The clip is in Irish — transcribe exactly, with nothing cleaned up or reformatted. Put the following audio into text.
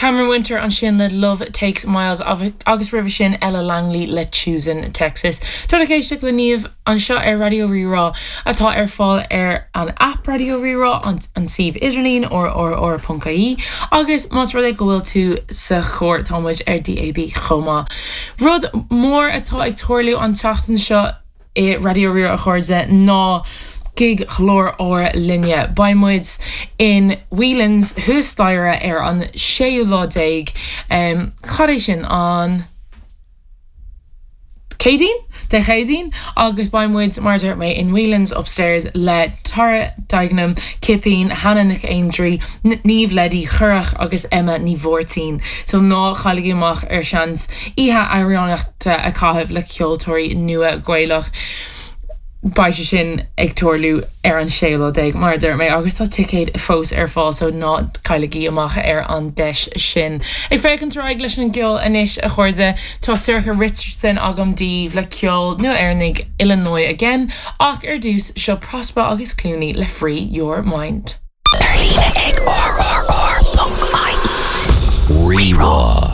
Cameron Winter ansin le Love Takes Miles agus roimhe sin Ella Langley le Choosin' Texas. Tá ag éisteacht le Niamh anseo ar Raidió Rí-Rá atá ar fáil ar an app Raidió Rí-Rá an, an suíomh idirlín rrr.ie agus más rud é go bhfuil tú sa charr tá muid ar DAB chomh maith. Rud mór atá ag tarlú an tseachtain seo i Raidió Rí-Rá a chairde ná gig chlár ár linne. Beidh muid in Whelan's thuas staighre ar an séú lá déag um, cad é sin an Céadaoin Dé Céadaoin agus beidh muid mar mé in Whelan's upstairs le Tara Dignam Cipín Hanna Nic Aindrí Niamh Leddy Churach agus Emma Ní Mhártín, so ná cailligí amach ar seans oíche amhránaíochta a chaitheamh le ceoltóirí nua Gaelach. Beidh sé sin ag tarlú ar an séú lá déag mar dúirt mé agus tá ticéid fós ar fáil so ná cailligí amach ar an deis sin. Ag féachaint ar aghaidh leis an gceol anois a chairde tá Sorcha Richardson agam daoibh le ceol nua-Éireannaigh Illinois again ach ar dtús seo Prospa agus Clooney le Free Your Mind. Ar líne ag rrr.ie. Rí-Rá.